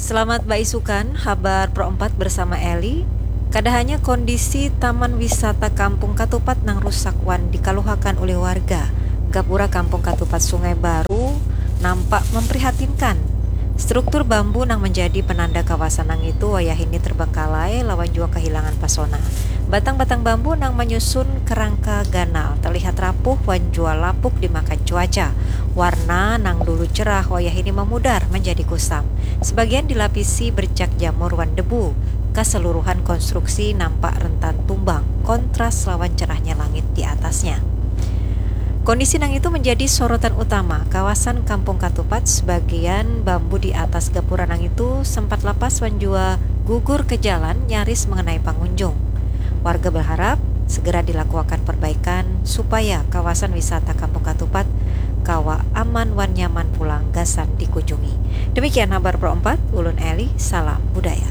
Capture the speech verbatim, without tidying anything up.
Selamat baisukan, habar Pro empat bersama Eli. Kada hanya kondisi Taman Wisata Kampung Katupat nang rusak wan dikaluhakan ulih warga, gapura Kampung Katupat Sungai Baru nampak memprihatinkan. Struktur bambu nang menjadi penanda kawasan nang itu wayahini terbengkalai lawan jua kehilangan pasona. Batang-batang bambu nang menyusun kerangka ganal terlihat rapuh wan jua lapuk dimakan cuaca. Warna nang dulu cerah wayahini memudar menjadi kusam. Sebagian dilapisi bercak jamur wan debu. Keseluruhan konstruksi nampak rentan tumbang, kontras lawan cerahnya langit di atasnya. Kondisi nang itu menjadi sorotan utama kawasan Kampung Katupat. Sebagian bambu di atas gapura nang itu sempat lapas wan jua gugur ke jalan nyaris mengenai pangunjung. Warga berharap segera dilakuakan perbaikan supaya kawasan wisata Kampung Katupat kawa aman wan nyaman pulang gasan dikunjungi. Demikian habar Pro empat, ulun Eli, salam budaya.